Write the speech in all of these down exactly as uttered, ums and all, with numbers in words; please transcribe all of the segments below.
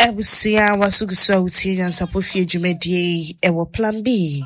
Abusua, waso gu so a wotie Nyansapɔ Fie dwumadie yi ɛwɔ Plan B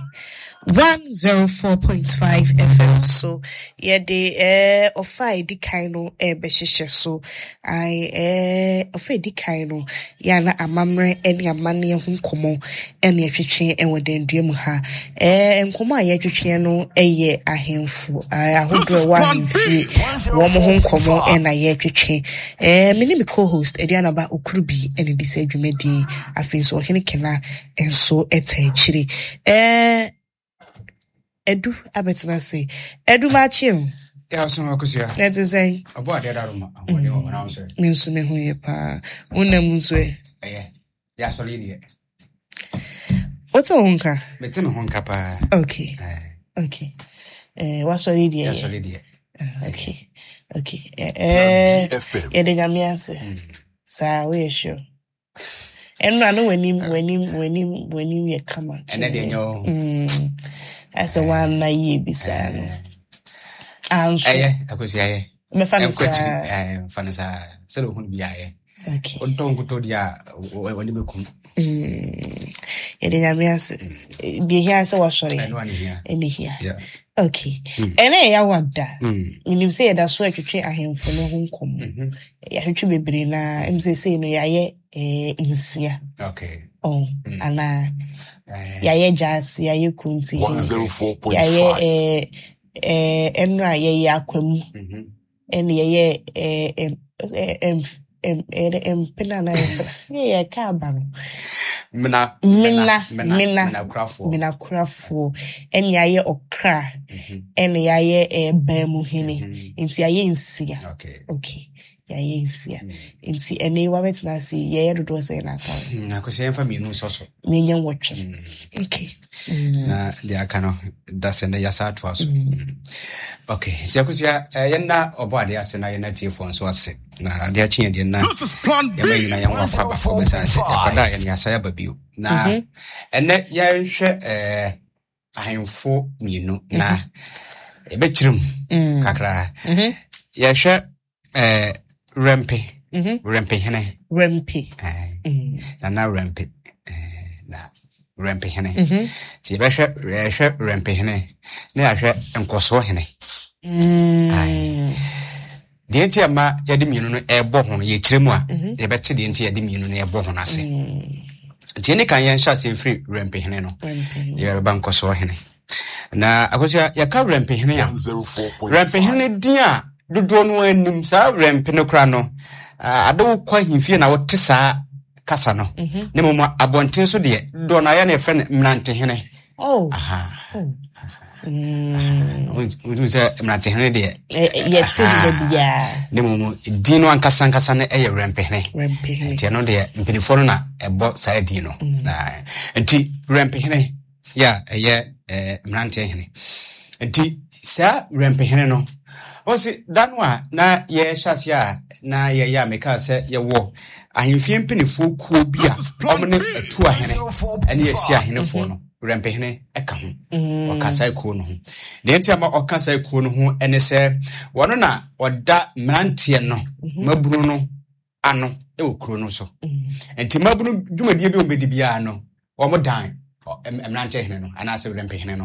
one zero four point five F M so. Yɛde ɛɛ ɔfa a ɛdi kan no ɛrebɛhyehyɛ so. Ae, ɛɛ ɔfa a ɛdi kan no, yɛana amammerɛ ne amanneɛ ho nkɔmmɔ ɛne ɛtwetwe ɛwɔ dandua mu ha. Ɛɛ nkɔmmɔ a yɛtwetwe no ɛyɛ ahemfo ɛɛ ahodoɔ ɛwɔ ahemfie wɔn ho nkɔmmɔ ɛna yɛtwetwe. Ɛɛ me ne me co-host Aduanaba Okurubi ɛna di sɛ dwumadie. Afei nso Ɔhene Kena nso ɛta akyire. Ɛɛ Edu abɛtena ase. Edu, maakye o. Yɛ so, Akosua. Na ɛte sɛn? Ɔbɔ adeɛ da roma ahoɔden wɔ hɔ sɛ. Me nso me ho yɛ paa. Wonam nso ɛ? Ɛyɛ, yɛasɔre yi deɛ. Wote wo ho nka? Mete me ho nka paa. Okay. Eh, Okay. Eh, wasɔre deɛ yɛ. Yɛasɔre deɛ. Ah, okay. Okay. Eh, eh, yɛde Nyame ase. Saa, woyɛ sure? Ɛnora no w'anim w'anim w'anim w'anim yɛ kama. Ɛnɛ deɛ nyɛ o. Mm. Asɛ wanna yie bi saa no. Anso. Ɛyɛ, Akosua, ɛyɛ. Mɛfa no ɛnkɔ akyiri saa. Ɛɛ, mfa no saa sɛdeɛ ohunu bi ayɛ. Okay. Wotɔ nkotɔ deɛ a wɔne bɛkum. Mm. Yɛde Nyame ase. Deɛ hia sɛ wasɔre. Ɛno ane hia. Ɛne hia. Yeah. Okay. Ɛnɛ yɛ Yawoada. Mm. Menim sɛ yɛda so atwetwe ahemfo no ho nkɔmmɔ. Mhm. Yɛahwetwe bebree na ɛm sɛ sei no yɛayɛ eh, nsia. Okay. Oh, anaa Eh, yɛayɛ Gyaase, yɛayɛ Kunti, yɛayɛ one zero four point five. eh, eh, ɛnora yɛyɛ Akwamu, mhm. ɛne yɛyɛ eh, em- eh, em- em- ɛyɛ dɛ mpena anaa yɛfrɛ ne yɛka aba no. Mena. Mena. Mena. Mena. Menakorafoɔ. Menakorafoɔ, ɛne yɛayɛ Ɔkra, Mhm. ɛne yɛayɛ eh, Baamuhene. Mhm. Nti yɛayɛ nsia. Okay. Okay, yɛayɛ nsia, nti ɛnɛ yi wabɛtena ase yi, yɛyɛ dodoɔ sɛ na aka ho? Mm, Akosua, yɛmfa mmienu nsɔ so. Na ɛnyɛ nwɔtwe. Okay. Na deɛ aka no da sɛ nnɛ yɛasa atoa so. Mm. Okay, nti Akosua, eh, yɛnna Ɔbɔ adeɛ ase na yɛnna tiefoɔ nso ase na adeɛ akye yɛ deɛ na This is Plan B. yɛma nyina yɛn ho akɔ aba fam ɛsiane sɛ yɛkɔda a yɛne yɛasa yɛaba bio. Na ɛnɛ yɛnhwɛ eh, ahemfo mmienu na yɛbɛkyerɛ mu Mm. kakra. Mhm. Yɛhwɛ eh, Rɛmpe, Mhm. Rɛmpehene. Rɛmpe. eh, Mm. Nana Rɛmpe, eh, na Rɛmpehene. Mhm. Nti yɛbɛhwɛ yɛhwɛ Rɛmpehene na yɛahwɛ Nkɔsoɔ hene. Mm. Deɛ nti a ma yɛde mmienu no ɛrebɔ ho no, yɛkyerɛ mu a yɛbɛte deɛ nti yɛde mmienu no ɛrebɔ ho no ase. Nti ɛne kan yɛnhyɛ ase mfiri Rɛmpehene no. Rɛmpehene. Yɛbɛba Nkɔsoɔ hene. Na Akosua, yɛka Rɛmpehene a, one zero four point five. Rɛmpehene din a dodoɔ no anim saa Rɛmpe no kora no, ah, ade wokɔ ahemfie na wote saa kasa no, ne mmom abɔnten so deɛ, dodoɔ no ayɛ no yɛfrɛ no Mmerantehene. Oh. Aha. Oh. Mm. Wohu sɛ Mmerantehene deɛ, Ɛ- ɛ- Yɛte no da biara. Ne mmom din no ankasa ankasa no ɛyɛ Rɛmpehene. Rɛmpehene. Nti ɛno deɛ mpanimfoɔ no na ɛbɔ saa din no. Na nti Rɛmpehene yɛ a ɛyɛ eh, mmeranteɛ hene. Nti saa Rɛmpehene no, ɔsi da no a na yɛhyɛ ase a na yɛyɛ a mekaa sɛ yɛwɔ ahemfie mpanimfoɔ kuo bi a This is Plan ɔmo ne B. atu ahene ɛne yɛsi ahenefoɔ no, Rɛmpehene ɛka ho. Ɔka saa kuo no ho. Deɛ nti ama ɔka saa kuo no ho ɛne sɛ wɔno na ɔda mmeranteɛ no, mmabunu no ano ɛwɔ kuro no so. Nti mmabunu dwumadie bi a wɔbɛdi biara no, wɔn dan ɔ- m- mmeranteɛ hene no anaasɛ Rɛmpehene no.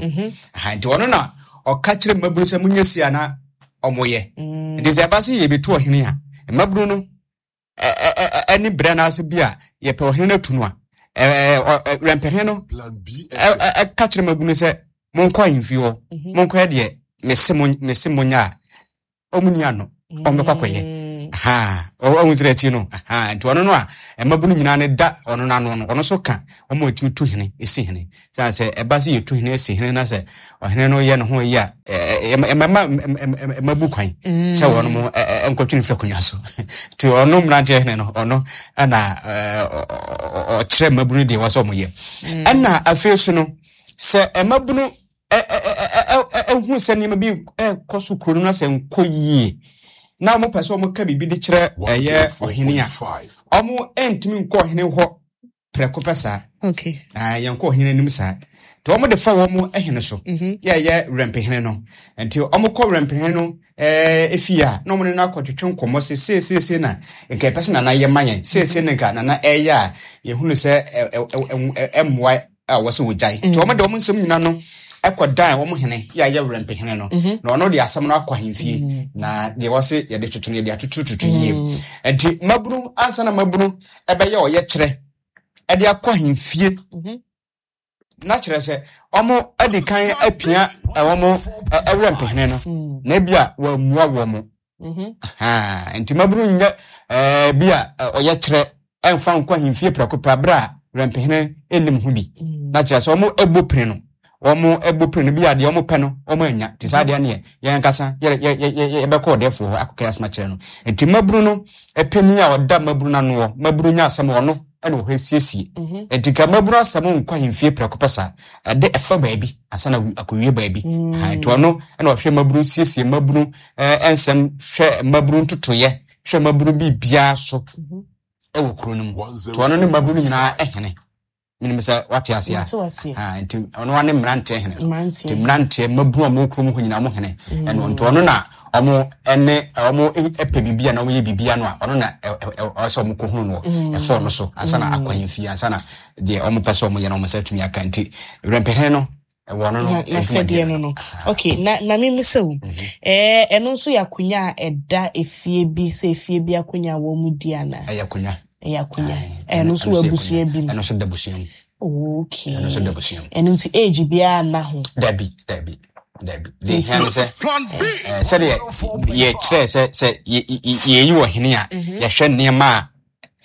Aha, nti ɔno na ɔka kyerɛ mmabunu sɛ monyɛ si a na ɔmoyɛ. Nti sɛ ɛba sɛ yɛbɛtu ɔhene a, mmabunu no ɛ- ɛ- ɛ- ɛne berɛ no ase bi a yɛpɛ ɔhene no atu no a, ɛ- ɛ- ɔ- ɛ- Rɛmpehene no Plan B ɛ- ɛ- ɛka kyerɛ mmabunu sɛ monkɔ ahemfie hɔ, monkɔyɛ deɛ mese mo mese monyɛ a, ɔmo ni ano ɔmo bɛkɔ akɔyɛ. Mm. Aha, ɔhu sɛ akyi no, aha, nti ɔno no a mmabunu nyinaa ne da ɔno n'ano no, ɔno nso ka ɔmo a ɛtumi tu hene esi hene. Sɛ sɛ ɛba sɛ yɛtu hene esi hene na sɛ ɔhene no yɛ ne ho yi a, ɛmɛma mmabu kwan sɛ wɔn mo nkɔtwe ne firi akonnwa so. Nti ɔno mmeranteɛ hene no, ɔno ɛna ɛɛ, ɔ- ɔ- ɔ- ɔkyerɛ mmabunu deɛ wɔ sɛ ɔmo yɛ. Ɛna afei so no, sɛ mmabunu ɛ- ɛ- ɛ- ɛ- ɛ- ɛhu sɛ nneɛma bi ɛkɔ so kuro no na sɛ nkɔ yie na wɔn pɛ sɛ wɔn ka biribi de kyerɛ ɛyɛ ɔhene a, one zero four point five. Wɔn ntumi nkɔ ɔhene hɔ prɛko pɛ saa. Okay. Na yɛnkɔ ɔhene anim saa. Nti Nti wɔn de fa wɔn hene so, yɛ yɛ rɛmpehene no. Nti wɔn kɔ rɛmpehene no ɛɛ efie a, na wɔn ne no akɔtwetwe nkɔmɔ sɛ seeseesei na nka yɛpɛ sɛ nana yɛ ma yɛn, seesei na nka nana ɛyɛ a yɛhunu sɛ ɛ ɛ ɛ ɛmmoa a wɔsɛ wɔgyae. Nti wɔn de wɔn nsɛm nyinaa no ɛkɔ dan wɔn hene yɛ a yɛ rɛmpehene no, na ɔno de asɛm no akɔ ahemfie, na deɛ wɔse yɛde toto no, yɛde atotototo yie. Nti mabunu ansa na mabunu ɛbɛyɛ ɔyɛ kyerɛ ɛde akɔ ahemfie, na kyerɛ sɛ ɔmo adi kan apia wɔn ɛwura mpehene no, na ebi a wɔamua wɔn. Nti mabunu nyɛ ɛɛ bi a ɔyɛ kyerɛ ɛnfa nkɔ ahemfie prɛko pɛ abere a rɛmpehene anim ho bi, na kyerɛ sɛ ɔmo ɛbɔ pere no, wɔn ɛbɔ pere no bi a deɛ ɔmo pɛ no ɔmo anya. Te saa deɛ neɛ yɛn ankasa yɛ yɛ yɛ yɛbɛkɔ ɔdɛfoɔ hɔ akɔkɛ asɛm akyerɛ no. Nti mabunu no ɛpɛni a ɔda mabunu n'anoɔ, mabunu nya asɛm, ɔno ɛna ɔhɔ esiesie. Nti ka mabunu asɛm nkɔ ahemfie prɛko pɛ saa, ɛde ɛfa baabi asa na akɔwie baabi. Nti ɔno ɛna ɔhwɛ mabunu siesie mabunu ɛɛ nsɛm, hwɛ mabunu ntotoyɛ, hwɛ mabunu biribiara so ɛwɔ kuro no mu. Nti ɔno ne mabunu nyinaa ɛhene. Menim sɛ wate ase a, nti ɔno ane mmeranteɛ hene no. Nti mmeranteɛ mabunu a ɔmo kurom hɔ nyinaa ɔmo hene ɛno. Nti ɔno na ɔmo ɛne ɔmo ɛpɛ biribi a na ɔmo yɛ biribi ano a, ɔno na ɔsɛ ɔmo kɔhunu no ɛfɔ no so ansa na akɔ ahemfie, ansa na deɛ ɔmo pɛ sɛ ɔmo yɛ no ɔmo sɛ tumi aka. Nti rɛmpɛhene no ɛwɔ no no na sɛdeɛ no no okay. Na na mi sɛ o, ɛɛ ɛno nso yɛ akonnwa a ɛda efie bi sɛ efie bi akonnwa a wɔn mu di ana? Ɛyɛ akonnwa. Ɛyɛ akonnwa, ɛno nso wɔ abusua bi mu? Ɛno nso da abusua mu. Okay. Ɛno nso da abusua mu. Ɛno nti age biara nna ho? Dabi, dabi, dabi. Deɛ ehia ne sɛ sɛdeɛ yɛkyerɛ sɛ sɛ yɛyi wɔ hene a, yɛhwɛ nneɛma a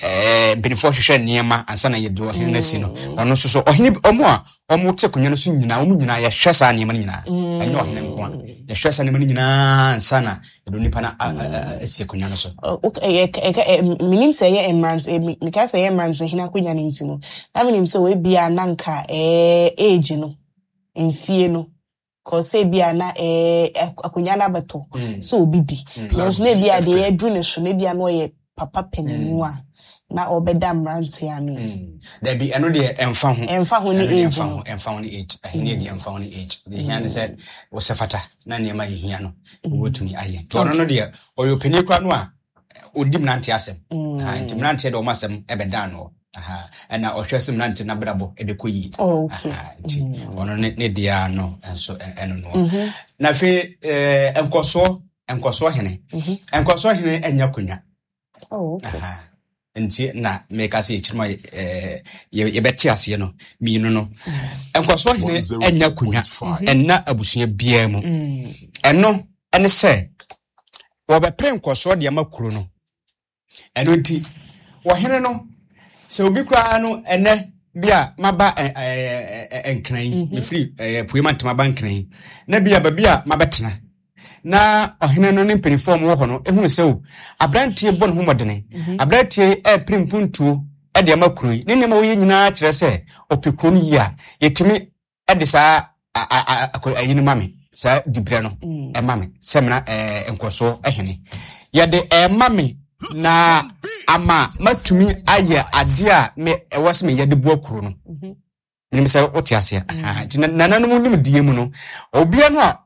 ɛɛ mpanyinfoɔ hwehwɛ nneɛma ansa na yɛde ɔhene no asi no. Ɔno nso so ɔhene, ɔmo a ɔmo te akonnwa no so nyinaa, ɔmo nyinaa yɛhwɛ saa nneɛma no nyinaa. Ɛnyɛ ɔhene nko a, yɛhwɛ saa nneɛma no nyinaa ansa na yɛde onipa no asi akonnwa no so. Menim sɛ ɛyɛ mmerante, meka sɛ ɛyɛ mmerante hene akonnwa no nti no, na menim sɛ wɔebia na nka ɛɛ age no, mfie no kɔ bi a na ɛɛ akonnwa no abɛtɔ sɛ obi di, nanso na ebi a deɛ yɛduru ne so na ebi a na ɔyɛ papa panimu a na ɔbɛda mmerante ano yi. Dabi, ɛno deɛ ɛmfa ho. Ɛmfa ho ne age no. Ɛmfa ho ne age. Ahenni deɛ, ɛmfa ho ne age. Deɛ ehia ne sɛ wɔsɛ fata na nneɛma yɛ hia no wɔbɛtumi ayɛ. Nti ɔno no deɛ, ɔyɛ ɔpanin koraa no a ɔdi mmerante asɛm. Nti mmeranteɛ deɛ, ɔmo asɛm ɛbɛdan no, ɛna ɔhwɛ sɛ mmerante n'abrabɔ ɛbɛkɔ yie. Nti ɔno ne ne deɛ no nso ɛno no. Na afei ɛɛ nkɔsoɔ nkɔsoɔ hene nkɔsoɔ hene ɛnyɛ akonnwa. Nti na meka sɛ yɛkyerɛ ma yɛbɛte aseɛ no mmienu no, nkɔsoɔ hene ɛnyɛ akonnwa, ɛnna abusua biara mu. Ɛno ɛne sɛ wɔbɛpere nkɔsoɔ de ama kuro no. Ɛno nti wɔhene no, sɛ obi koraa no ɛnɛ bi a maba Nkran yi, mefiri Pue ma ntoma ba Nkran yi, na bi a baabi a mabɛtena na ɔhene no ne mpanimfoɔ a wɔwɔ hɔ no ehunu sɛ o aberanteɛ bɔ ne ho mmɔdene, aberanteɛ ɛrepere mpuntuo ɛde ama kuro yi, ne nneɛma wɔyɛ nyinaa kyerɛ sɛ ɔpɛ kuro no yie a, yɛtumi ɛde saa ayi no ma me, saa dibrɛ no ɛma me sɛ mena ɛɛ nkɔsoɔ ɛhene. Yɛde ɛma me na ama matumi ayɛ adeɛ a me ɛwɔ sɛ meyɛ de boa kuro no. Menim sɛ wote aseɛ. Nti nananom nim die mu no, obia no a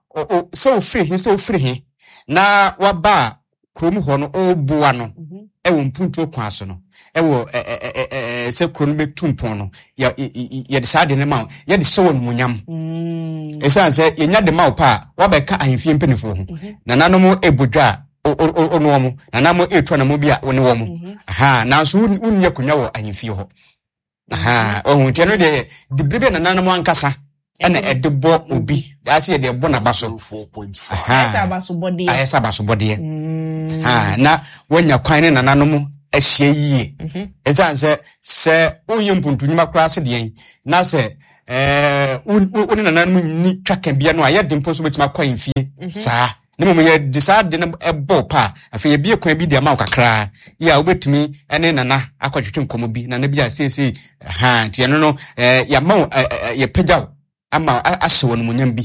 sɛ ofiri he sɛ ofiri he na waba a kurom hɔ no, ɔreboa no ɛwɔ mpuntuo kwan so no, ɛwɔ sɛ kuro no bɛtu mpɔn no, yɛde saa de no ma wo, yɛde hyɛ wɔ nomonyam. Ɛsiane sɛ yɛnya de ma wo pa a, wabɛka ahemfie mpanimfoɔ ho, nananom ɛbɔ dwa a ɔne wɔn, nananom ɛretu anamo bi a ɔne wɔn, nanso wonni akonnwa wɔ ahemfie hɔ. Ɔhu nti ɛno deɛ, dibere bi a nananom ankasa ɛna ɛde bɔ obi ase, yɛde ɛbɔ n'aba so, ayɛ sɛ abasobɔdeɛ, na wanya kwan ne nananom ahyia yie. Ɛsiane sɛ sɛ woyɛ mpuntunwuma koraa se deɛn na sɛ ɛɛ wo ne nananom ni twaka bia no a, yɛde mpo nso bɛtumi akɔ ahemfie saa. Ne mmom yɛde saa de no ɛbɔ pa a, afei yɛbie kwan bi de ama wo kakraa yɛ a wobɛtumi ne nana akɔtwetwe nkɔmmɔ bi, nana bi a seesei ha. Nti ɛno no ɛɛ yɛama wo, ɛɛ yɛpagya wo ama ahyɛ wɔ nomonyam bi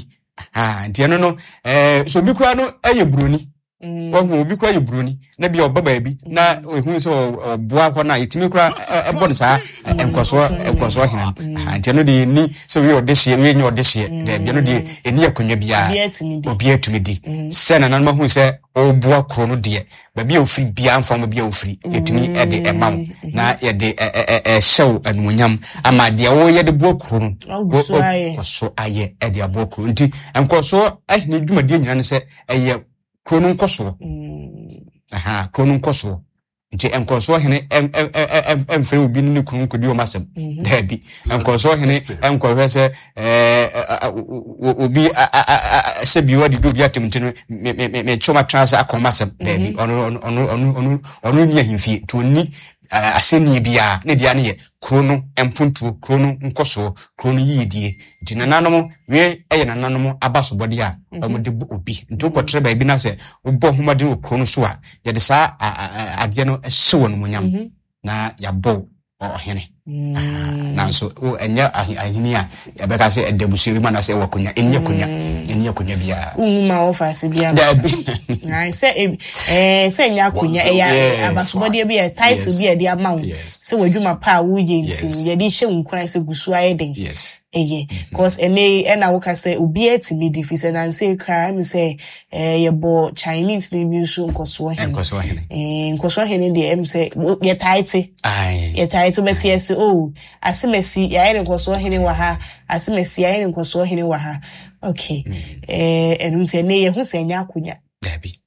ha. Nti ɛno no ɛɛ so obi koraa no ɛyɛ buroni. Wahu obi kora yɛ buroni na bia ɔba baabi na ehu sɛ ɔboa hɔ no a, yɛtumi kora ɛbɔ no saa nkɔsoɔ nkɔsoɔ hene no. Nti ɛno deɛ, ɛni sɛ wei ɔde hyeɛ, wei nyɛ ɔde hyeɛ. Daabi, ɛno deɛ ɛni akonnwa biara, obiara tumi di. Sɛ nananom ahu sɛ ɔboa kuro no deɛ, baabi a ofiri biara, mfa ma bi a ofiri, yɛtumi ɛde ɛma wo na yɛde ɛhyɛ wo animuonyam ama deɛ wɔyɛ de boa kuro no kɔ so ayɛ ɛde aboa kuro. Nti nkɔsoɔ ahene dwumadie nyinaa no sɛ ɛyɛ kuro no nkɔsoɔ, aha, kuro no nkɔsoɔ. Nti nkɔsoɔ hene ɛmfrɛ obi ne ne kunu nkɔdi wɔn asɛm, daabi. Nkɔsoɔ hene nkɔhwɛ sɛ obi sɛ bi wɔde di obi atem nti no mekyɛw atena ase akɔ wɔn asɛm, daabi. Ɔno ɔno ɔno ɔno ɔno nni ahemfie, nti ɔnni asɛnnie biara. Ne deɛ no yɛ kuro no mpontuo, kuro no nkɔsoɔ, kuro no yiedie. Nti nananom wei yɛ nananom abasobɔdeɛ a wɔde bɔ obi. Nti wokɔtrɛ baabi na sɛ wobɔ homɔden wɔ kuro no so a, yɛde saa adeɛ no hyɛ wɔ nomonyam na yɛabɔ ɔhene. Nanso ɛnyɛ ahene a yɛbɛka sɛ ɛda abusua bi mu anaasɛ ɛwɔ akonnwa. Ɛnni akonnwa, ɛnni akonnwa biara. Wohu ma wɔfa ase biara. Daabi. Sɛ ɛɛ sɛ ɛnyɛ akonnwa, ɛyɛ abasobɔdeɛ bi, yɛ title bi a yɛde ama wo sɛ w'adwuma pa a woyɛ nti no, yɛde hyɛ wo nkuran sɛ gu so ayɛ den. Ɛyɛ cause ɛnɛ yi ɛna woka sɛ obiara tumi di fi sɛ nansa yi koraa ɛmi sɛ ɛɛ yɛbɔ Chinese ne bi nso nkɔsoɔ hene. Nkɔsoɔ hene. Ɛɛ nkɔsoɔ hene deɛ, ɛmi sɛ yɛtae te yɛtae te wobɛte ɛsɛ o, asemasi yɛayɛ ne nkɔsoɔ hene wɔ ha, asemasi yɛayɛ ne nkɔsoɔ hene wɔ ha. Okay, ɛɛ ɛno nti ɛnɛ yɛho sɛ ɛnyɛ akonnwa. Daabi.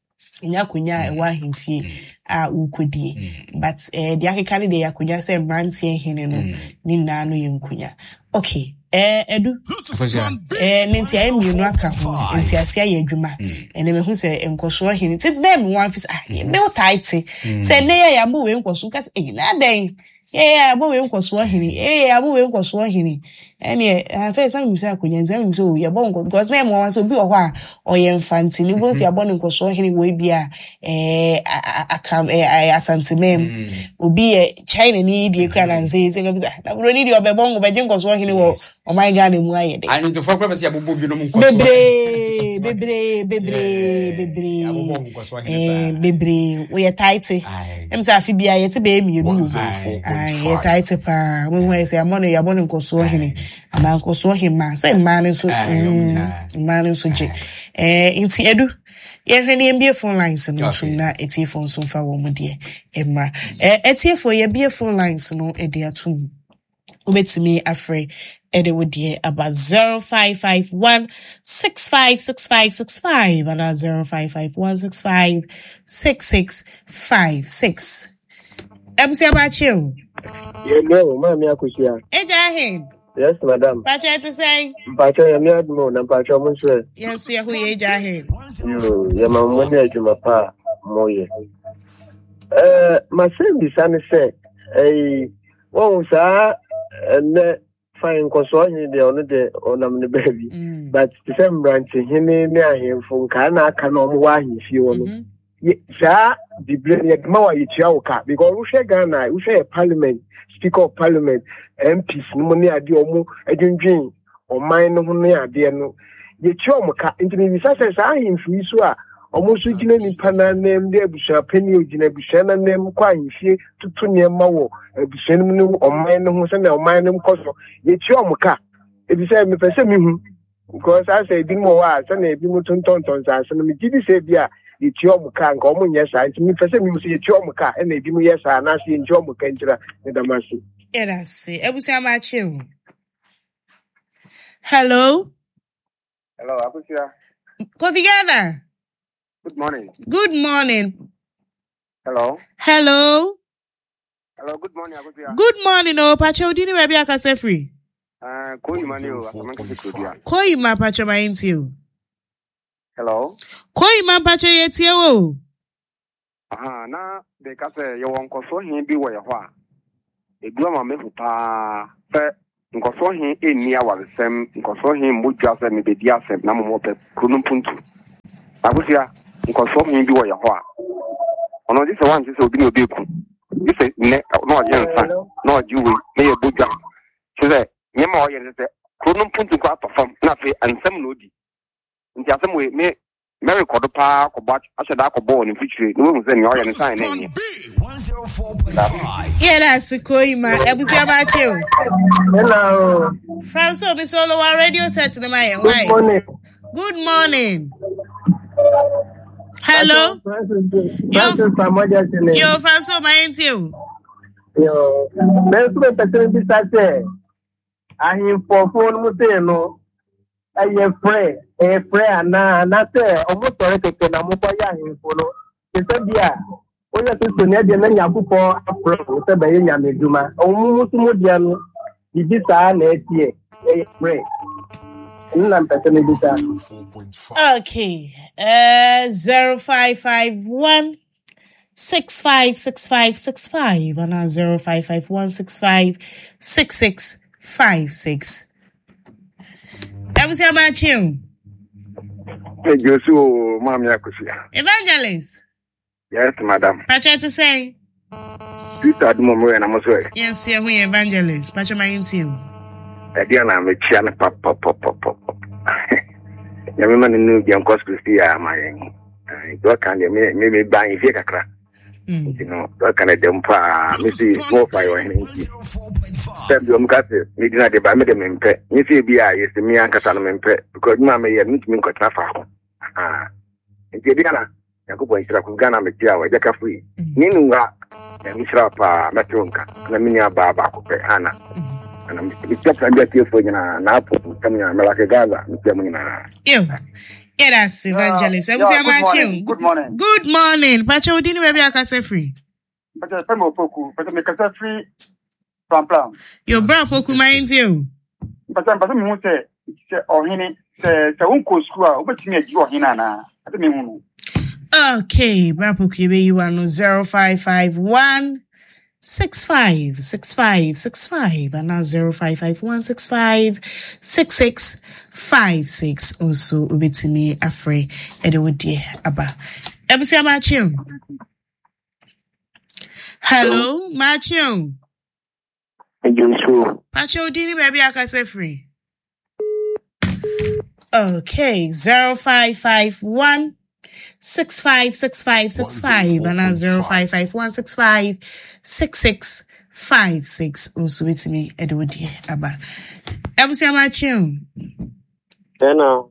Ɛnyɛ akonnwa a ɛwɔ ahemfie a wokɔdie, but ɛɛ deɛ akeka no deɛ yɛ akonnwa sɛ mmeranteɛ hene no ne nyinaa no yɛ nkonnwa. Okay, ɛɛ ɛdu ɛɛ ne nti ayɛ mmienu aka ho, nti ase ayɛ adwuma. Ɛnna mehu sɛ nkɔsoɔ hene ti bɛɛ mi wɔn afi sɛ, ah, me wo tae te sɛ ɛnɛ yɛ yɛabɔ wei nkɔso kasi ɛyi na adɛn yɛ yɛabɔ wei nkɔsoɔ hene, ɛyɛ yɛabɔ wei nkɔsoɔ hene. Ɛnneɛ first na mi sɛ akonnwa, nti na mi sɛ o yɛbɔ nkɔ because na ɛmu wɔn sɛ obi wɔ hɔ a ɔyɛ Mfantini bo nsi yɛabɔ ne nkɔsoɔ hene wɔ ebi a ɛɛ akam ɛɛ Asanteman mu, obi yɛ China ni deɛ kura na nse sɛ ɛbi sɛ na buroni deɛ ɔbɛbɔ nkɔ bɛgye nkɔsoɔ hene wɔ ɔman Ghana mu ayɛ dɛ. Anwontofoɔ kora bɛ sɛ yɛabobɔ binom nkɔsoɔ. Bebree, bebree, bebree, bebree. Yɛabobɔ nkɔsoɔ hene saa. Bebree, woyɛ taete ɛm sɛ afe bia yɛte bɛyɛ mmienu wɔ mu. Yɛ taete paa, wohu ayɛ sɛ yɛabɔ no yɛabɔ no nkɔsoɔ hene anaa nkɔsoɔ hemmaa, sɛ mmaa no nso mmaa no nso gye. ɛɛ nti edu yɛhwɛ ne yɛmbie phone lines no nso na etiefoɔ nso mfa wɔn mu deɛ mmra. ɛɛ etiefoɔ, yɛbie phone lines no de ato mu, wobɛtumi afrɛ ɛde wo deɛ aba zero five five one six five six five six five anaa zero five five one six five six six five six. Abusua, baakye o. Yɛnua o, Maame Akosua. Egya ahen? Yes, madam. Baakye, ɛte sɛn? Mpakyɛ, yɛme adum o, na mpakyɛ mo nso ɛ? Yɛn nso yɛ ho yɛ, egya ahen. Yoo, yɛma mo ne adwuma pa a moyɛ. Ɛɛ, masɛm bisa ne sɛ, ɛyi, wɔn saa ɛnɛ fine nkɔsoɔ hene deɛ, ɔno deɛ ɔnam ne baabi. But te sɛ mmerantehene ne ahemfo nkaa na aka na ɔmo wɔ ahemfie hɔ no. Saa bibire no yɛde ma wa, yɛtua wo ka? Because wohwɛ Ghana, wohwɛ yɛ parliament, Speaker of Parliament, M Ps no mu ne adeɛ, ɔmo adwendwen ɔman no ho ne adeɛ no, yɛtua ɔmo ka. Nti mebisa sɛ saa ahemfo yi so a ɔmo nso gyina nipa n'anim de abusuapanyin ogyina abusua n'anim kɔ ahemfie toto nneɛma wɔ abusua no mu ne ɔman no ho sɛnea ɔman no kɔ so, yɛtua ɔmo ka? Ebi sɛ mepɛ sɛ mihu because asɛ ebinom wɔ hɔ a sɛnea ebinom tontɔntɔn nsaase no, megye di sɛ ebi a yɛtua ɔmo ka nka ɔmo nyɛ saa. Nti mepɛ sɛ mihu sɛ yɛtua ɔmo ka ɛna ebinom yɛ saa anaasɛ yɛntua ɔmo ka. Nkyira meda mo ase. Yɛda ase. Abusua, maakye o. Hello. Hello, Akosua. Kofi Ghana. Good morning. Good morning. Hello. Hello. Hello, good morning, Akosua. Good morning o, pakyɛ odi ne baabi akasa firi? Uh, Koyima ni o, Asamankese Kurodua. Koyima, pakyɛ ma yɛntie o. Hello. Koyima, mpakyɛ yɛtie wo. Aha, na meka sɛ yɛwɔ nkɔsoɔ he bi wɔ yɛ hɔ a, edu ama mehu paa sɛ nkɔsoɔ he nni awaresɛm, nkɔsoɔ he mmɔ dwa sɛ mebɛdi asɛm na mmom ɔpɛ kuro no mpuntu. Akosua, nkɔsoɔ he bi wɔ yɛ hɔ a, ɔno gye sɛ wante sɛ obi ne obi eku, gye sɛ nnɛ na ɔgye nsa na ɔgye wei na yɛbɔ dwa kyerɛ sɛ nneɛma a ɔyɛ no sɛ kuro no mpuntu kɔ atɔ fam na afei nsɛm na odi. Nti asɛm wei me Mɛrekɔdo paa akɔbɔ ahyɛ da akɔbɔ wɔ ne mfikyire na woahu sɛ nea ɔyɛ no sign na ɛnyɛ. Yeah, that's Koima. Ebusia Machu. Hello. Franco, Miss Olowa radio set in my Good why? morning. Good morning. Hello. Francis, Yo, Francis Pamoja Sene. yo, Franco, my auntie. Yo. Me nso mepɛ sɛ mebisa sɛ ahemfɔfoɔ no mu sei no ɛyɛ frɛ ɛyɛ frɛ anaa anaasɛ ɔmo sɔre kɛkɛ na mokɔyɛ ahemfo no te sɛ bi a woyɛ kristo ne deɛ na Nyankopɔn afrɛ wo sɛ bɛyɛ nyame adwuma. Ɔmo mu nso mu deɛ no biribi saa na ɛteɛ ɛyɛ frɛ. Ɛno na mpɛ sɛ mebisa. Okay. Uh zero five five one six five six five six five and zero five five one six five six six five six. Ebusia Machu. Josu o maame Akosua. Evangelist. Yes, madam. Pacha to say. Peter Adumo mo yɛ na mo so ɛ. Yes, yeah, we evangelist. Pacha my auntie. Ɛdeɛ na mekyia no papapapapap. Nyame ma ne nu deɛ nkɔ sukuu si yɛ ama yɛn. Nti ɔka deɛ me me me ba ahemfie kakra. Nti no ɔka no dɛm paa me si wɔfa yɛ ɔhene nti. Sɛ bi ɔmo ka sɛ medi na de ba me de mempɛ. Nye sɛ ebi a yɛsɛ me ankasa no mempɛ because adwuma a meyɛ no mentumi nkɔtena faako. Ah. Nti ebi ana Nyankopɔn nhyira ko Ghana mekyia wɔ agya kafo yi. Ne nua Nyame nhyira paa mɛte wo nka na me nua baa baako pɛ Hana. Ana mekyia pra bi atiefoɔ nyinaa na apo ntam nyinaa Melake Gaza mekyia mu nyinaa. Yo. Yeah, that's evangelist. Yeah, Ebusia good morning. Machu. Good morning. Good morning. Pacha Udini baby akase free. Pacha Femi Opoku. Pacha me kasa free plam plam. Yo, bra poku my auntie. Pacha mpasa mi hu sɛ sɛ ɔhene sɛ sɛ wonkɔ sukuu a wobɛtumi agye ɔhene anaa? Ate mi hu no. Okay, bra poku be you one zero five five one six five six five six five and now zero five five one six five six six five six. Also, ubetimi afre ede wodie aba. Ebusia Machu. Hello, Machu. Josu. Pacha Udini baby akase free. Okay, zero five five one six five six five six five and now zero five five one six five six six five six. Also with me, Edward Abba. Ebusia Machu. Ɛna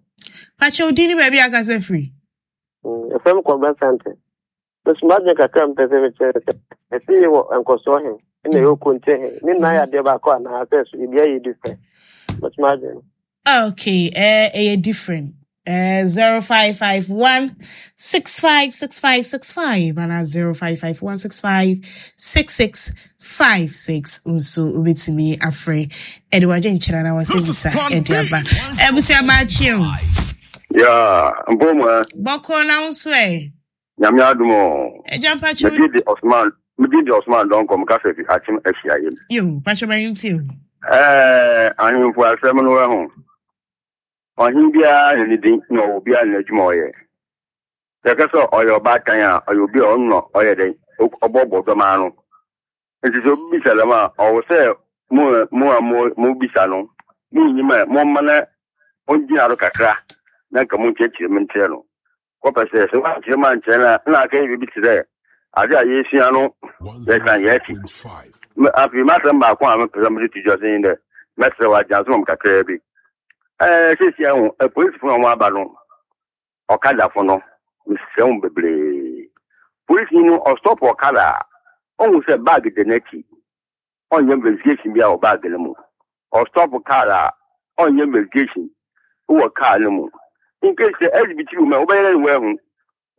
Pacha Udini baby akase free. ɛfɛm kɔba sante. Mesoma adwene kakra mpɛ sɛ mekyerɛ sɛ ɛsi yɛ wɔ nkɔsoɔ he ɛna ɛwɔ konte he ne nyinaa yɛ adeɛ baako anaa sɛ so ebi ayɛ different. Mesoma adwene. Okay, eh, eh, different. Uh, zero five five one six five six five six five and zero five five one six five six six five six. Nso ubetimi afre. Edward nkyerɛ na wase bisa ɛde aba. Ebusia Machu. Ya mpomu Bɔkɔ na nso ɛ. Nyame adom o. Ɛgya mpacho. Medi de Osman medi de Osman dɔnkɔ mka sɛ fi akyem ahyia yɛ. Yo, mpacho ma yɛntie o. Ɛɛ ahemfo asɛm no wɔ ho. Ɔhen biara ne ne din na ɔwɔ biara ne n'adwuma a ɔyɛ. Yɛka sɛ ɔyɛ ɔbaatan a ɔyɛ obi a ɔno na ɔyɛ dɛn ɔbɔbɔ dɔm ano. Nti sɛ obi bisa dɛm a ɔwɔ sɛ mo mo a mo mo bisa no mo nyim a momma na ɔngyina do kakra na nka mo nkyerɛkyerɛ mu nkyerɛ no. Kɔpɛ sɛ sɛ woankyerɛ mu ankyerɛ no a na aka yɛ biribi te sɛ ade a yɛsua no yɛsan yɛakyi. Afei m'asɛm baako a mepɛ sɛ mede to dwa sɛ yi dɛ mɛsrɛ wɔ agyanso mam kakraa bi. Ɛɛ seesia ho apolisifo na wɔn aba no ɔkadafo no mesrɛ wo bebree. Polisi no ɔstop ɔkada a ɔhu sɛ bag da n'akyi ɔnyɛ investigation bi a wɔ bag no mu. Ɔstop car a ɔnyɛ investigation wɔ car no mu. In case sɛ exhibit bi wɔ mu a wobɛyɛ dɛ wɔahu.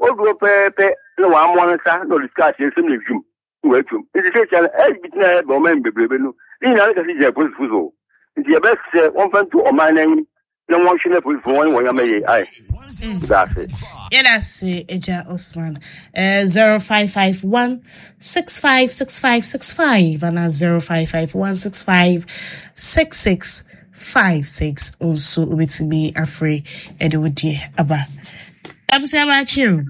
Oduo pɛɛpɛ na wɔamoa no nsa na ɔde sika ahyɛ nsam na ehwim na wɔatwam. Nti seesia no exhibit no a ɛbɛ ɔman bebrebe no ne nyinaa no kɛse gyina polisifo so. Nti yɛbɛsrɛ wɔmfa nto ɔman no anim na wɔnhwɛ na polisifo wɔn wɔn nyama yie ae. That's it. Yeah, that's it, Eja Osman. Uh, zero five five one six five six five six five and zero five five one six five six six five six. Also, ubetimi afre edewodie aba. Ebusia Machu.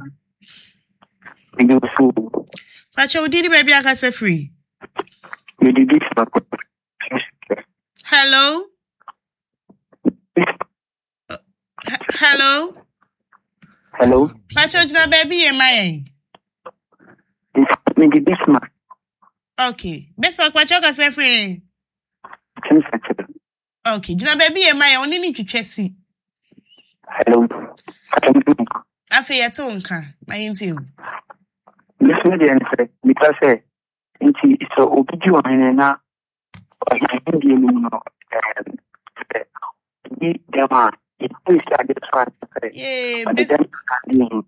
Pacha udini baby akase free. Hello. Uh, hello. Hello. Gyina baabi yɛ ma yɛn. Mede Bismarck. Okay. Bismarck, pakyɛ kasa firi yɛn. Kyem Sɛkyerɛ. Okay. Gyina baabi yɛ ma yɛn, ɔne ne twitwa si. Hello. Afei yɛte wo nka, ma yɛntie wo. Mesome deɛ ne sɛ, meka sɛ, nti sɛ obi di ɔhene na ɔhene no mu no, sɛ obi dɛm a, yɛtumi si adeɛ so a sɛ ɔde dɛm adeɛ ho.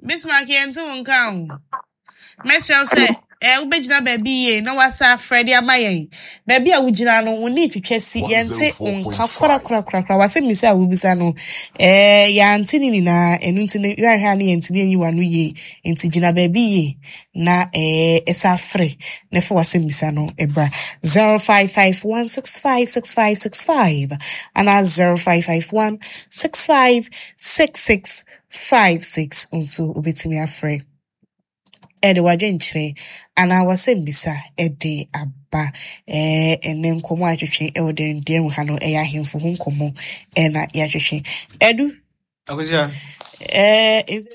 Bismarck, yɛnte wo nka o. Mɛkyerɛ wo sɛ, eh, wobɛgyina baabi yie na wasa afrɛ de ama yɛn. Baabi a wogyina no, wo ne twitwa si, yɛnte wo nka korakorakorakora. Wasɛ mmisa a wobisa no, eh, yɛante ne nyinaa, ɛno nti no, yɛahwɛ a ne yɛntumi anyi w'ano yie. Nti gyina baabi yie na eh, ɛsa afrɛ na fa wasɛ mmisa no ɛbra. zero five five one six five six five six five anaa zero five five one six five six six five six nso wobɛtumi afrɛ. Ɛde wadwenkyerɛ anaa wasɛmbisa ɛde aba. ɛɛ ɛnɛ nkɔmɔ a yɛatwetwe ɛwɔ dɛndɛn mu ha no ɛyɛ ahemfo ho nkɔmɔ ɛna yɛatwetwe. Ɛdu Akosua. ɛɛ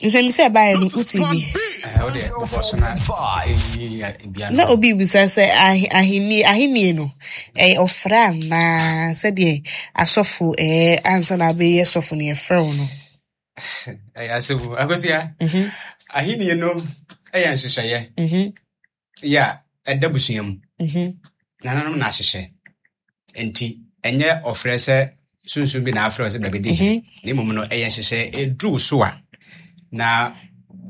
nsɛmbisa ɛbaeɛ no wote bi. Ɛɛ wode bɔbɔ so na ɛyi bia Na obi bisa sɛ ahe ahenni ahenni no ɛyɛ ɔfrɛ anaa sɛdeɛ asɔfo ɛɛ ansa na abɛyɛ sɔfo no yɛfrɛ wo no. Ɛyɛ asɛm o. Akosua, Mhm, ahenni no ɛyɛ nhyehyɛeɛ mhm, yɛ a ɛda busua mu. mhm, Nananom na ahyehyɛ. Nti ɛnyɛ ɔfrɛ sɛ sunsun bi na afrɛ wo sɛ bra bɛdi hene. mhm, Na mmom no ɛyɛ nhyehyɛeɛ ɛduru wo so a na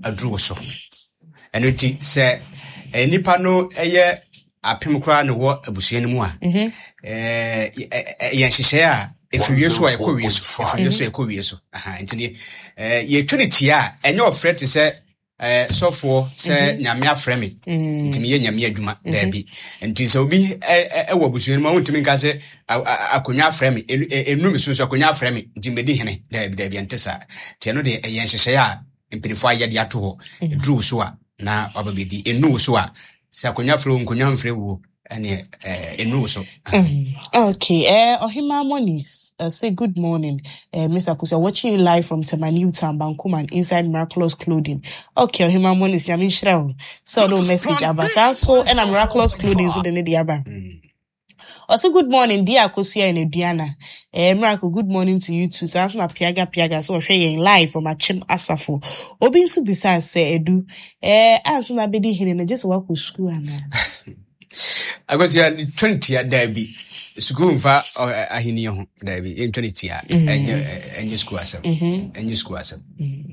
aduru wo so. Ɛno nti sɛ eh, nipa no ɛyɛ apem koraa na wɔ abusua no mu a, mhm, ɛɛ, ɛ- ɛ- ɛyɛ nhyehyɛeɛ a ɛfiri wie so a ɛkɔ wie so, ɛfiri wie so a ɛkɔ wie so. Aha, nti ne ɛɛ, yɛtwa no tia a ɛnyɛ ɔfrɛ te sɛ ɛɛ, sɔfoɔ sɛ Nyame afrɛ me mm, nti meyɛ Nyame adwuma, daabi. Nti sɛ obi ɛ- ɛ- ɛwɔ abusua no mu a, wontumi nka sɛ a- a- akonnwa afrɛ me, ɛnu ɛ- ɛnu me so nso akonnwa afrɛ me nti mbɛdi hene. Daabi, daabi, ɛnte saa. Nti ɛno deɛ ɛyɛ nhyehyɛeɛ a mpanimfoɔ ayɛ de ato hɔ. Ɛduru wo so a na waba bɛdi, ɛnu wo so a sɛ akonnwa frɛ wo, nkonnwa mfrɛ wo, ɛneɛ ɛɛ, ɛnu wo so. Mm, okay, uh, Ohima Moniz, uh, say good morning, uh, Miss Akusa, watching you live from Tema New Town, Bankuman, inside Miraculous Clothing. Okay, Ohima Moniz, Nyame nhyira wo. So no message aba. Saa so ɛna Miraculous Clothing so de ne de aba. Mm. Also, good morning, dear Akosua and Aduana. Eh, Miracle, good morning to you too. Saa so na Piaga Piaga so ɔhwɛ yɛn live from Akyem Asafo. Obi nso bisa sɛ Edu, eh, ansa na abɛdi hene no, gye sɛ wakɔ sukuu anaa? Akosua, ne twa ne tia, daabi. Sukuu mfa ɔ- ɛ- ahenni ho, daabi. Yɛntwa ne tia, ɛnyɛ ɛ- ɛnyɛ sukuu asɛm, Mhm. ɛnyɛ sukuu asɛm,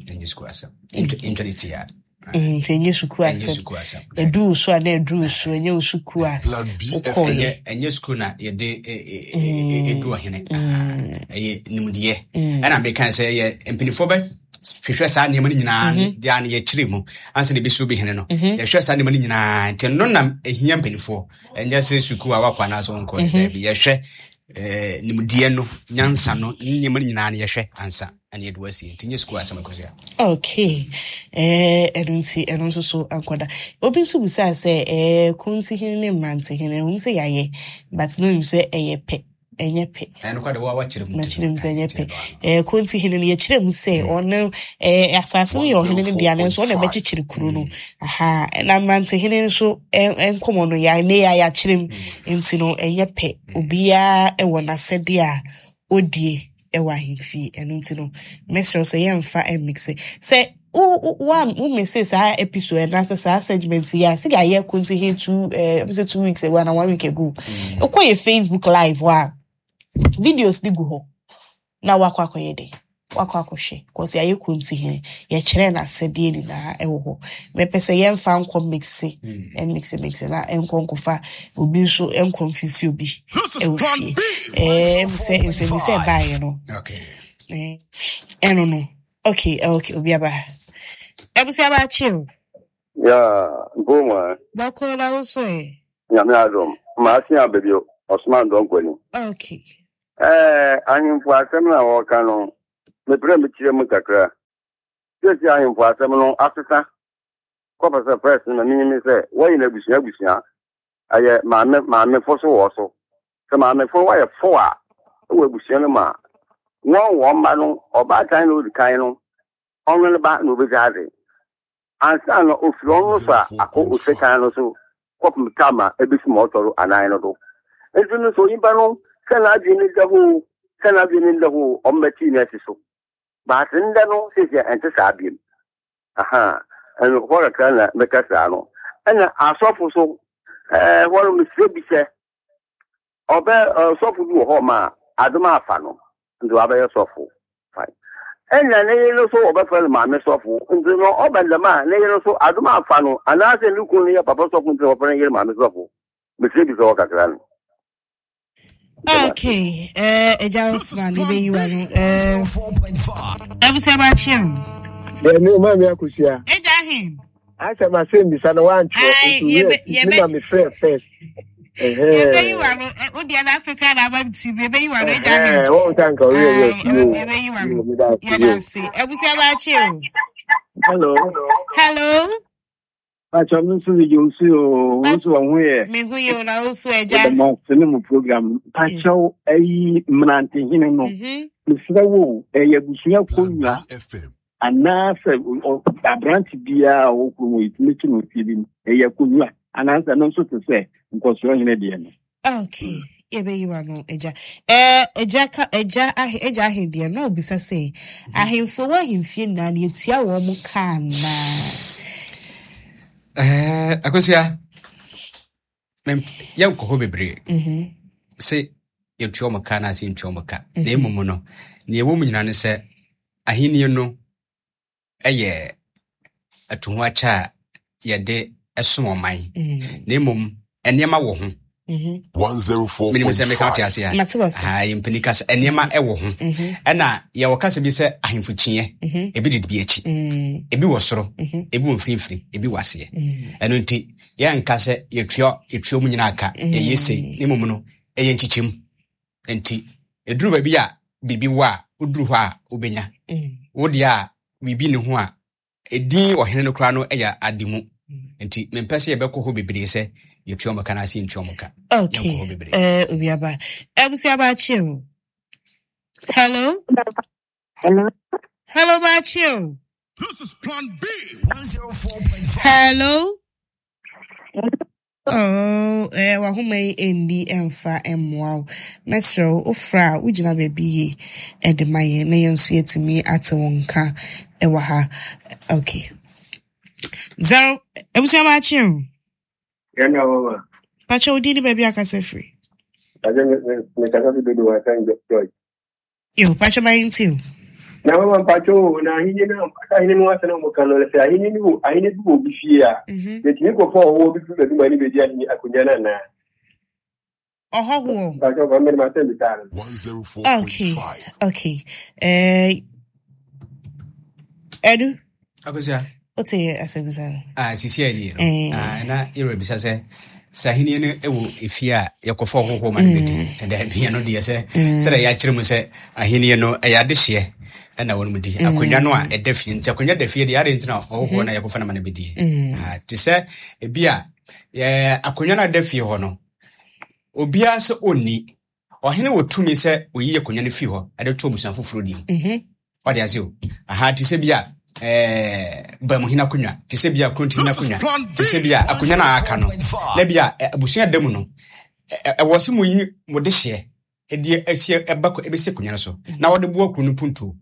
ɛnyɛ sukuu asɛm. Yɛntwa yɛntwa ne tia. Mm, nti ɛnyɛ sukuu ɛnyɛ asɛm. Sukuu asɛm, daabi. Ɛduru so a na ɛduru so, ɛnyɛ wo sukuu a wokɔɔyɛ. ɛnyɛ ɛnyɛ sukuu na yɛde ɛ- ɛ- ɛ- ɛ- ɛdu ɔhene. Aha, ɛyɛ nimdeɛ ɛna meka sɛ yɛ mpanimfoɔ bɛ hwehwɛ saa nneɛma no nyinaa ne deɛ a no yɛkyerɛ mu ansa na ɛbɛsi obi hene no, yɛhwɛ saa nneɛma no nyinaa. Nti no na ɛhia mpanimfoɔ, ɛnyɛ sɛ sukuu a wakɔ anaasɛ wonkɔ, daabi. Yɛhwɛ eh, nimdeɛ no, nyansa no, ne nneɛma no nyinaa no yɛhwɛ ansa ɛne yɛde wasie. Nti nyɛ sukuu asɛm, Akosua. Okay. Eh, ɛno nti ɛno nso so ankɔda. Obi nso bisaa sɛ eh, Kontihene ne Mmerantehene, ɛwom sɛ yɛayɛ, but na onim sɛ ɛyɛ pɛ, ɛnyɛ pɛ. Ɛno kwa de wa wakyerɛ mu nti Makyerɛ mu sɛ ɛnyɛ pɛ. kyerɛ no ano. Eh, Kontihene no yɛkyerɛ mu sɛ ɔno eh, asase no yɛ ɔhene no dea, nanso ɔna ɛbɛkyekyere kuro no. Aha, ɛna Mmerantehene nso ɛ- ɛ- nkɔmmɔ no yɛ ne yɛ yɛakyerɛ mu. Nti no ɛnyɛ pɛ. Obiara ɛwɔ n'asɛdeɛ a odie ɛwɔ ahemfie. Ɛno nti no, mɛsrɛ sɛ yɛmfa ɛmmixe. Sɛ wo wo wo wo mese saa episode anaasɛ saa segment yi a sɛdeɛ ayɛ Kontihene two eh, sɛ two weeks ago ana one week ago. Wokɔ yɛ Facebook live hɔ a, videos di gu hɔ na wakɔ akɔyɛ de wakɔ akɔhwɛ kɔsi ayɛ Kontihene, yɛkyerɛ n'asɛdeɛ nyinaa ɛwɔ hɔ. Mɛpɛ sɛ yɛmfa nkɔ mixe ɛmixe mixe na ɛnkɔ nkɔfa obi nso ɛnconfuse obi ɛwɔ fie. Ɛɛ sɛ nsɛmbisa ɛbaeɛ no, Okay. ɛɛ ɛno no. Okay, okay, obi aba. Abusua baakye o. Ya, mpoma. Bɔkɔ na wo so ɛ? Nyame adom. Ma ase aba bio, ɔsoma ndɔnkɔ ni. Okay. Eh, ahemfo asɛm na wɔka no, mepere mekyerɛ mu kakra. Sɛsi ahemfo asɛm no asesa. Kɔpɛ sɛ first no, menyim sɛ wɔyɛ no abusua abusua. Ɛyɛ maame maamefo so wɔ so. Sɛ maamefo wɔyɛ fo a, ɛwɔ abusua no mu a, wɔn wɔn mma no, ɔbaatan na odi kan no, Ɔno ne ba na obedzi adze. Ansa na ofiri ɔno so a akɔ osekan no so kɔpem tam a ebesi ma ɔtɔ do anan no do. Nti no so nyimpa no sɛ n'adwene no da hɔ o, sɛ n'adwene no nda hɔ o, ɔmmɛtee no asi so. But ndɛ no seesei ɛnte saa biom. Aha, ɛno hɔ kakra na mɛka saa no. Ɛna asɔfo so, ɛɛ hɔ no mesrɛ bi sɛ ɔbɛ ɔsɔfo bi wɔ hɔ ma adom afa no nti wabɛyɛ sɔfo. Fine. Ɛna ne yere no so wɔbɛfrɛ no maame sɔfo nti no ɔbɛn dɛm a ne yere no so adom afa no anaasɛ ne kunu no yɛ papa sɔfo nti na wɔfrɛ ne yere maame sɔfo. Mesrɛ bi sɛ hɔ kakra no. Okay, eh, Agya Osman, yɛbɛyi wa no. Eh, abusua baakye o. Deɛ me maame Akosua. Agya he. Asɛ ma sɛ mbisa no wantwerɛ Ai, nti yɛbɛ werɛ fi me yɛbɛ ma mefrɛ first. yɛbɛyi wa Ɛhɛn. no. Eh, wo deɛ na afei koraa na aba me tirim. Yɛbɛyi wa no, agya he. Ɛhɛn, wɔn nsa nka werɛ werɛ Ai, fi o. yɛbɛyi wa Yo, no. meda ase Yɛda yo. ase. Abusua baakye o. Hello. Hello. Pacho mi nso mi nso o, Ba nso wɔn ho yɛ. me ho yɛ o na wo so Yɛda agya. mo ase ne mo program. Mm. Pacho ayi mmerantehene no. Mhm. Mesrɛ wo, ɛyɛ abusua konnwa anaasɛ ɔ- ɔ- aberante biara a ɔwɔ kurom hɔ yi tumi kye no fie bi mu. Ɛyɛ akonnwa anaasɛ ɛno nso te sɛ nkɔsoɔ hene deɛ no. Okay. Yɛbɛyi wa no agya. Eh, agya ka agya ahe agya ahe deɛ na obisa sɛ ahemfo wɔ ahemfie nyinaa no yɛtua wɔn mo kaa naa. Eh, Akosua, mem- yɛnkɔ hɔ bebree Mhm. sɛ yɛtua ɔmo ka anaasɛ yɛntua ɔmo ka. Na Mhm. mmom no, nea ɛwɔ mu nyinaa ne sɛ ahenni no yɛ atuhoakyɛ a yɛde ɛsom ɔman. Mm. Na mmom nneɛma wɔ ho. Mhm. Menim sɛ meka wote ase a. Mate wase. Aha, yɛ mpanin kasa nneɛma ɛwɔ ho. Mhm. Ɛna yɛwɔ kasa bi sɛ ahemfo kyiɛ, Mhm. ebi didi bi akyi, Mm. ebi wɔ soro, Mhm. ebi wɔ mfimfini, ebi wɔ aseɛ. Mm. Ɛno nti yɛnka sɛ yɛtua yɛtua mu nyinaa ka yɛyɛ sei Mm. na mmom no ɛyɛ nkyekyɛm. Nti ɛduru baabi a biribi wɔ a woduru hɔ a wobɛnya. Mm. Wo deɛ a biribi ne ho a ɛdin ɔhene no koraa no ɛyɛ ade mu. Nti mempɛ sɛ yɛbɛkɔ hɔ bebree sɛ yɛtua ɔmo ka anaasɛ yɛntua ɔmo ka. Yɛnkɔ hɔ Okay. bebree. Eh, obi aba. Abusua baakye o. Hello. Hello. Hello baakye o. Hello. Oh, eh, wahoma yi ɛnni ɛmfa ɛmmoa wo. Mɛsrɛ wo, wofrɛ a wogyina baabi yie ɛde ma yɛn na yɛn nso yɛatumi ate wo nka ɛwɔ ha. Okay. Zero, abusua baakye o. Yɛn na mama. Pakyɛ wo din ne baabi akasa firi. Pacho me me me kasa fi dodo wa san George. Yo, pakyɛ ma yɛntie o. Na mama mpacho o, na ahenni no ahenni no asɛm a mo ka no sɛ ahenni no wɔ ahenni bi wɔ obi fie a Mhm. yɛtumi kɔfa ɔwɔ bi fi baabi ma ne bɛdi ahenni akonnwa no anaa? Ɔhɔhoɔ. Mpacho fa mmɛde ma sɛ bisaa no. Okay, okay. Eh, Edu, Akosua, wote asɛm bisa no? ah, sisi a nie no, Eh, ah, na yɛrɛ bisa sɛ sɛ ahenni no ɛwɔ efie a yɛkɔfa ɔhɔhoɔ ma no bɛdi. mm, Ɛda bia no deɛ sɛ mm, sɛdeɛ yɛakyerɛ mu sɛ ahenni no ɛyɛ adehyeɛ ɛna wɔn di. Akonnwa no a mm, ɛda fie nti akonnwa da fie deɛ ade nti na ɔhɔhoɔ mhm, na yɛkɔfa no ma no bɛdie. mm, Ah, te sɛ ebi a yɛ akonnwa no a ɛda fie hɔ no, obiara sɛ ɔnni. Ɔhene wɔ tumi sɛ oyi akonnwa no fi hɔ ɛde to abusua foforɔ di mu. mhm, Ɔde ase o. Aha, te sɛ bi a ɛɛ bamuhene akonnwa, te sɛ bi a kurontihene akonnwa, te sɛ bi a akonnwa no a aka no, na bi a ɛ, abusua da mu no, ɛ- ɛ- ɛwɔ sɛ mo yi mo de hyeɛ ɛde asi ɛba kɔ- ɛbɛsi akonnwa no so na wɔde boa kuro no puntuo.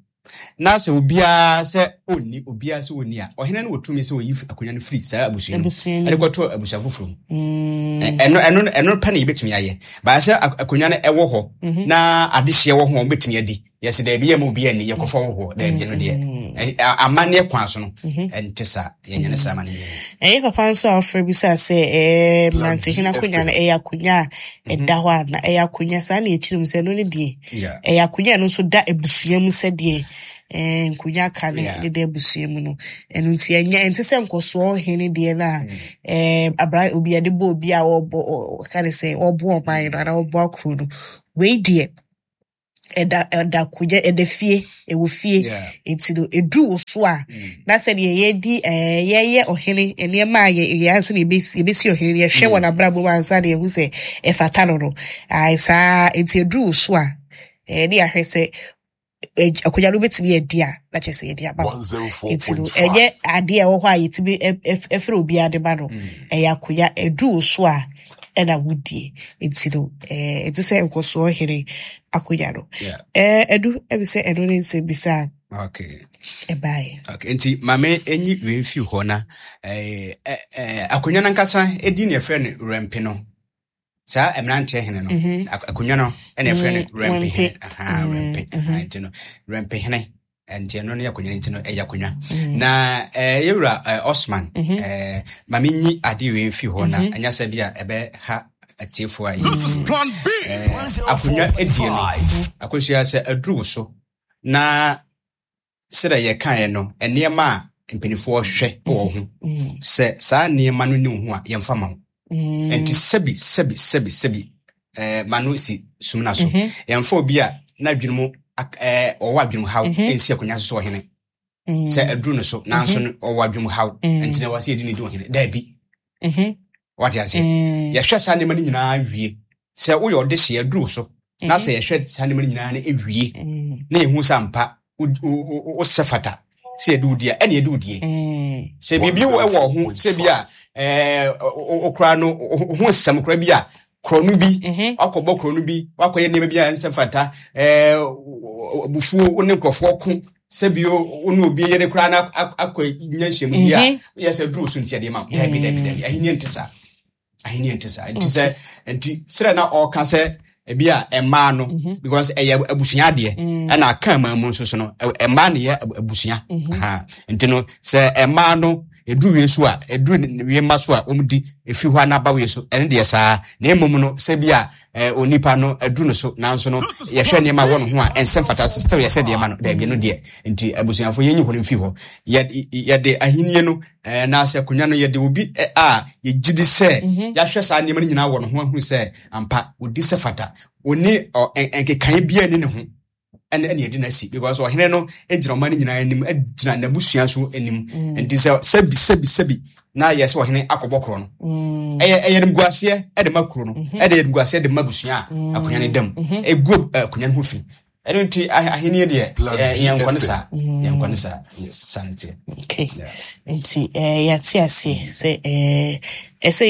Na sɛ obiara sɛ ɔnni, obiara sɛ ɔnni a, ɔhene no wɔ tumi sɛ ɔyi akonnwa no firi saa abusua no mu Abusua no ɛde mu. kɔto abusua foforɔ mu. Ɛ- Mm, ɛno ɛno ɛno pɛ na yɛbɛtumi ayɛ. Baa sɛ ak- akonnwa no ɛwɔ hɔ mhm, na adehyeɛ wɔ ho a wɔbɛtumi adi. Yɛsɛ daabi yɛ ma obi ani yɛkɔfa wɔ hɔ daabi no deɛ mm, ɛ- ɛ- amanneɛ kwan so no mhm, ɛnte saa yɛnyɛ ne saa ma no nyɛ yie. Ɛyɛ papa nso a ɔfrɛ bisa sɛ ɛɛ mmerantehene akonnwa no ɛyɛ akonnwa a ɛda hɔ a na ɛyɛ akonnwa saa na yɛkyerɛ mu sɛ ɛno ne deɛ Yeah. ɛyɛ akonnwa a ɛno nso da abusua mu sɛdeɛ ɛɛ nkonnwa aka no Yeah. de da abusua mu no. Ɛno nti ɛnyɛ ɛnte sɛ nkɔsoɔ hene deɛ no a ɛɛ abra obi a de bɔ obi a ɔrebɔ ɔ- ɔka ne sɛ ɔreboa ɔman no anaa ɔreboa kuro no. Wei deɛ ɛda ɛda akonnwa ɛda fie ɛwɔ fie Yeah. nti no eduru wo so a Mm. na sɛdeɛ yɛdi ɛɛ yɛyɛ ɔhene nneɛma a yɛ yɛ ansa na yɛbɛsi yɛbɛsi ɔhene no yɛhwɛ wɔ Mm. n'abrabɔ mu ansa na yɛhu sɛ ɛfata no no ae saa nti eduru wo so a ɛɛ ne yɛahwɛ sɛ Akonnwa no wobɛtumi adi a, na kyerɛ sɛ yɛde aba wo. Nti no, ɛnyɛ adeɛ a ɛwɔ hɔ a yɛtumi ɛfrɛ obiara de ma no. Ɛyɛ akonnwa, ɛduru wo so a ɛna wodie. Nti no, ɛte sɛ nkɔsoɔ hene akonnwa no. Ɛdu ɛbi sɛ ɛno ne nsɛm bisa a okay. Ɛbaeɛ. Okay. Nti maame enyi wei mfi hɔ na akonnwa no ankasa ɛdi ne yɛfrɛ no rɛmpe no. Saa mmeranteɛ hene no, akonnwa no ɛna yɛfrɛ no rɛmpe hene. Rɛmpe. Nti no, rɛmpe hene. Nti ɛno ne akonnwa no, nti no ɛyɛ akonnwa. Na yɛwura Osman, maame nyi ade wei mfi hɔ na ɛnyɛ sɛ bi a ɛbɛha atiefoɔ a yɛtie. Akonnwa adie no, akosua sɛ aduru wo so na sɛdeɛ yɛkaeɛ no, nneɛma a mpanimfoɔ hwɛ wɔ ho, sɛ saa nneɛma no ni wo ho a, yɛmfa ma wo. Nti sɛbi sɛbi sɛbi sɛbi eh, ma no si sum na so. Yɛmfa obi a n'adwene mu ɔwɔ adwene mu haw nsi akonnwa so sɛ ɔhene. Sɛ aduru no so nanso no ɔwɔ adwene mu haw nti na ɛwɔ sɛ yɛde ne di ɔhene. Daabi. Wate aseɛ? Yɛhwɛ saa nneɛma no nyinaa wie. Sɛ woyɛ ɔdehyeɛ aduru so na sɛ yɛhwɛ saa nneɛma no nyinaa no wie na yɛhu sɛ ampa wosɛ fata sɛ yɛde wo di a, ɛne yɛde wo die. Sɛ biribi wɔ ho sɛ bi a okura no ho nsɛm kora bi a korɔno bi wakɔbɔ korɔno bi wakɔyɛ nneɛma bi a ɛnsɛ fata, abufuo wo ne nkurɔfoɔ ko, sɛ bio wo ne obi yere koraa na akɔ nya nhyiamu bi a yɛ sɛ duru so nti yɛde ma wo. Dabi dabi dabi, ahenni nte saa, ahenni nte saa. Nti sɛ nti srɛ na ɔka sɛ ebi a mmaa no, because ɛyɛ abusua adeɛ, ɛna aka mmaa mu nso so no, mmaa ne yɛ abusua. Nti no sɛ mmaa no eduru wie so a, eduru wie mma so a, wɔn di efi hɔ anaba wie so, ɛno deɛ saa. Na emom no sɛ bi a onipa no aduru no so nanso no yɛhwɛ nneɛma wɔ no ho a ɛnsɛm fata, still yɛhyɛ deɛ ma no, daabi no deɛ. Nti abusuafo yɛnyi hɔ no mfi hɔ. Yɛde ahenni no na sɛ akonnwa no yɛde obi a yɛgye di sɛ yɛahwɛ saa nneɛma no nyinaa wɔ no ho ahu sɛ ampa odi sɛ fata, oni nkekae biara ni ne ho, ɛne ɛne yɛde no asi, because ɔhene no gyina ɔman no nyinaa anim, gyina n'abusua so anim. Nti sɛ sɛbi sɛbi sɛbi na yɛ sɛ ɔhene akɔbɔ korɔ no, ɛyɛ ɛyɛ animguaseɛ ɛde ma kuro no, ɛde animguaseɛ de ma abusua a akonnwa no dam, egu akonnwa no ho fi. Ɛno nti ahenni deɛ yɛnkɔ ne saa, yɛnkɔ ne saa. Yes, saa ne teɛ. Okay. Nti yɛate aseɛ sɛ ɛsɛ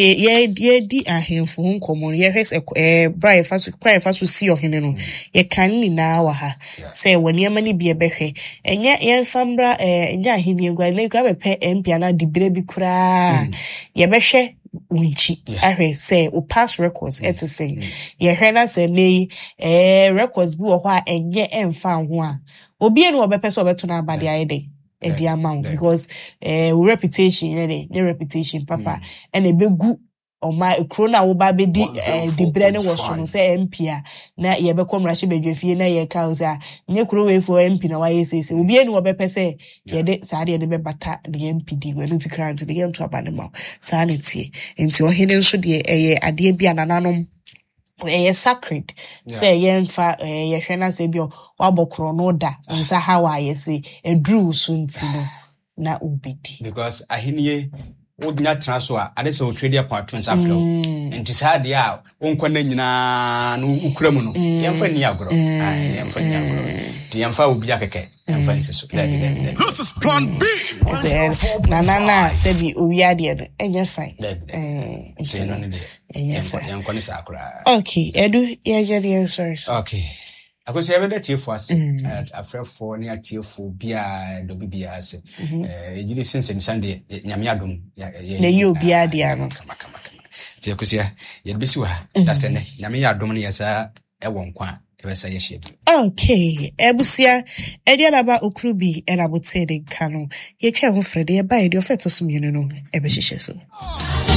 yɛdi ahemfo ho nkɔmmɔ no, yɛhwɛ sɛ bra yɛfa so kwan yɛfa so si ɔhene no, yɛka ne nyinaa wɔ ha sɛ wɔ nneɛma no bi yɛbɛhwɛ. Ɛnyɛ yɛmfa mbra, ɛnyɛ ahenni ngua ɛnɛ kura bɛpɛ M P anaa dibere bi koraa, yɛbɛhwɛ wo nkyi ahwɛ sɛ wo past records ɛte sɛn. Yɛhwɛ na sɛ nne yi ɛɛ records bi wɔ hɔ a ɛnyɛ ɛmfa ho a, obi enu ɔbɛpɛ sɛ ɔbɛto n'aba de ayɛ dɛ ɛde ama wo, because ɛɛ wo reputation yɛ dɛ ne reputation papa ɛna ebegu ɔma kuro no a woba bɛdi ɛɛ dibrɛ no wɔ so no. Sɛ M P a na yɛbɛkɔ mmarahyɛbadwa fie na yɛka wo sɛ a nyɛ kuro weifoɔ M P na wayɛ seesei, obi enu ɔbɛpɛ sɛ yɛde saa deɛ de bɛbata ne M P di wɛno nti kra nti ne yɛnto aba ne ma wo. Saa ne teɛ. Nti ɔhene nso deɛ ɛyɛ adeɛ bi a nananom ɛyɛ sacred sɛ yɛmfa yɛhwɛ na sɛ bi wabɔ korɔ no da nsa ha wɔ ayɛ sɛ ɛduru so nti no na wobɛdi. Because ahenni wogyina tena so a ade sɛ otwe deɛ pɔn ato nsa frɛ wo. Nti saa adeɛ a wonkɔ na nyinaa no wokura mu no, yɛmfa nni agorɔ, yɛmfa nni agorɔ. Nti yɛmfa obi akɛkɛ yɛmfa nsi so. Dabi dabi dabi. This is Plan B. Na na na sɛbi owi adeɛ no ɛnyɛ fine. Dabi dabi. Nti no ne deɛ ɛnyɛ saa. Yɛnkɔ ne saa koraa. Okay, Edu, yɛnyɛ deɛ nsɔre so. Okay. Akosi yɛbɛda tiefoɔ ase, afrɛfoɔ ne atiefoɔ biara dɔbi biara ase. Yɛgye di sɛ nsɛmisa deɛ Nyame adom na ɛyi obiara deɛ ano. Kama kama kama. Nti Akosia yɛde bɛsi wɔ ha. Da sɛ nnɛ Nyame yɛ adom no yɛ saa ɛwɔ nkwa a yɛbɛsa yɛhyia bio. Okay, abusua Aduanaba Okuru bi ɛna motee ne nka no. Yɛtwa ho frɛ de yɛbaeɛ deɛ ɔfɛ to so mmienu no ɛbɛhyehyɛ so.